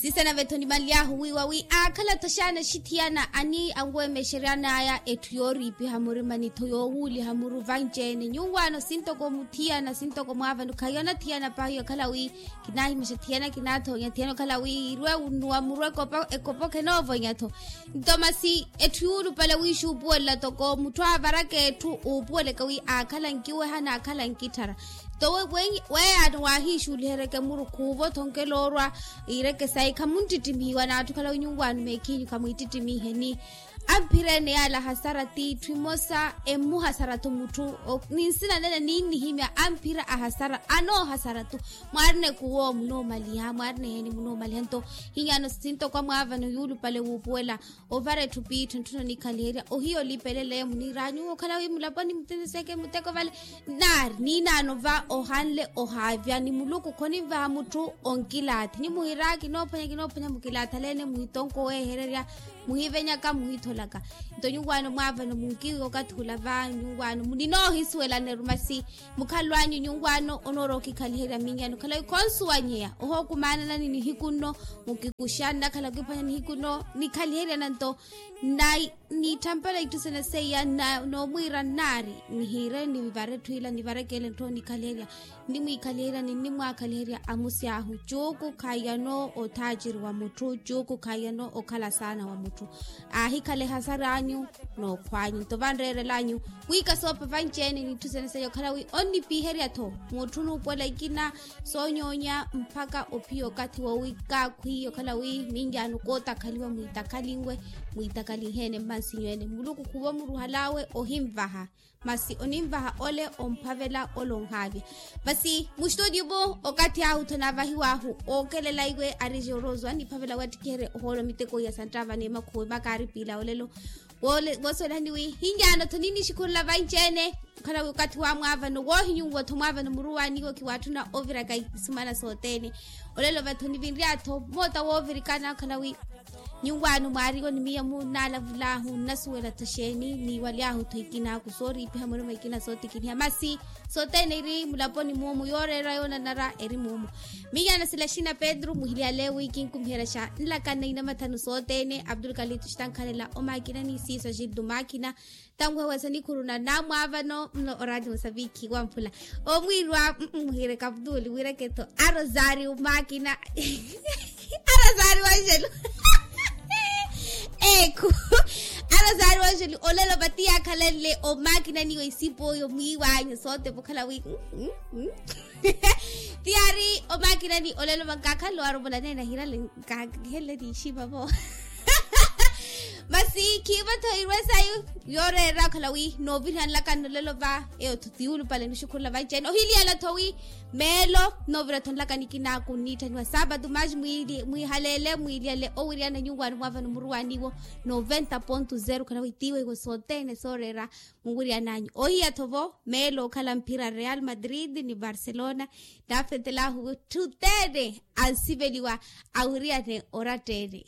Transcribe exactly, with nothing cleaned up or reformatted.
Siisana vettho nimaly'ahu wiiwa wi aakhala-tho xaana axithiyana ani anweemexeryan'aya etthu yooriipiha murimani-tho yoowuuliha muru vanci-ene nyuwaano sintoko muthiyana sintoko mwaavano khayi onathiyana paahi okhala wi kinaahimexa thiyana kinaathoonya thiyana okhala wi iirwe wunnuwa muru ekopo ekopokhe noovonyattho. Nto masi etthu yuulupale wiixuupuwelela toko mutthu aavaraka etthu uupuweleke wi aakhala nkiweha n'aakhala nkitthara. Nto weeyaano waahiixuuliheryeke muru khuuvo-tho nkela orwa iireke sayi khamunttittimihiwa n'atthu okhala wi nyuwaano meekhiinyu khamwiittittimihe ni amphira ene yaala ahasara t'itthu emosa emmuhasara-tho mutthu. Ni nsina nene ninnihimya amphira ahasara anoohasara-tho. Mwaarina ekuwo munoomaliha mwaarina eheeni munoomaliha nto hinyano sintoko amwaavano yuulupale wuupuwela ovara etthu piittho ntthuno nikhaliherya ohiya olipelele muniiraanyu okhala wi mulaponi muteseke muteko vale. Naari niinaano va ohanle ohaavya ni muluku khoninvaha mutthu onkilaathi nyi muhiira kinoophwanya kinoophwanya mukilaathi aleene muhitonko oweehererya muhivenyaka muhitholaka. Nto nyuwaano mwaavano munkiiwa okathi ula va nyuwaano ninoohisuwelaneru masi mukhalw'anyu nyuwaano onoorowa okikhaliherya minyano okhala wi khonsuwanyeya ohookumaanana ni nihiku nno mukikuxa nnakhala okiphwanya nihiku nno nikhaliheryana nto. Niitthempela itthu sene seiya noomwiira nnaari nihiire nivare etthu ila nivarekele ntthu onikhaliherya nnimwiikhaliherya ni nnimwaakhaliherya amusi ahu cuuku khaiyano othaaciri wa mutthu cuuku khaiyano okhala saana wa mutthu. Aahikhala ehasar'anyu n'okhw'anyu nto vanreerel'anyu wi kasoopha vanci-ene n'itthu sene seiya okhala wi onnipiiherya-tho mutthu onuupuwela ikina soonyoonya mpakha ophiya okathi woowi kaakhwiiya okhala wi minyaano kootakhaliwa mwiitakhalinwe mwiitakhalinhe-ene mmansinyu-ene muluku khuuva omuruhal'awe ohinvaha. Masi oninvaha ole omphavela ole onhaavya. Masi mustutio-mu okathi ahu-tho naavahiw'ahu ookelela iwe arije orozo aniphavela wattikiherye ohoolo miteko iya santtava n'emakhuwe makaaripiila olelo. Woosuwelahani wi hinyaano-tho ninnixikhurula vanci-ene okhala wi okathi wamwaavano woohinyuwa-tho mwaavano muruwaniwo khiwaatthuna oviraka isumana sothene. Olelo vattho nivinrya-tho moota woovirikana okhala wi nyuwaano mwaariwo ni miya munaalavul'ahu nnasuwela-tho xeeni niiwaly'ahu-tho ikinaaku sooriipiha murima ikina sootikiniha masi sothene iri mulaponi muumu yooreera yoonanara eri muumu. Minyana sila xina petru muhilyale wi kinkumiherya xa nlakana inamathanu sothene abdulkalitu xitankhalela omaakina ni siiso xiltu maakina. Tanweha wesa nikhuruna namwaavano mno oraati musapikhi wamphula omwiirwa muhiire kaputuli wiireke-tho arosario maakina. Arosario anxelu ekhu arosario anxelu olelo vati yaakhalenle omaakina niyo isipo oyo mwiiwanyu sote vokhala wi. Ti yaari omaakina ni olelo vankakhalelo arovola nene ahirale nkakihenle ni ixima vo. Masi khiivo-tho irwe sayu yooreera okhala wi noovirihanlaka nolelo va eyo-tho ti yuulupale nixukhurula vanci-ene ohilyela-tho wi meelo noovira-tho nlaka nikinaaku nniitthaniwa saapatu maasi mwiihaleele mwiilyale owiriyana nyuwaano mwaavano muruwaniwo noventa ponto zero okhala wi tiiwe iwe sothene sooreera muwiriyananyu ohiya-tho vo meelo okhala mphira real madrid ni barcelona. Naafetelahu wi tthutene ansiveliwa awiriyane orattene.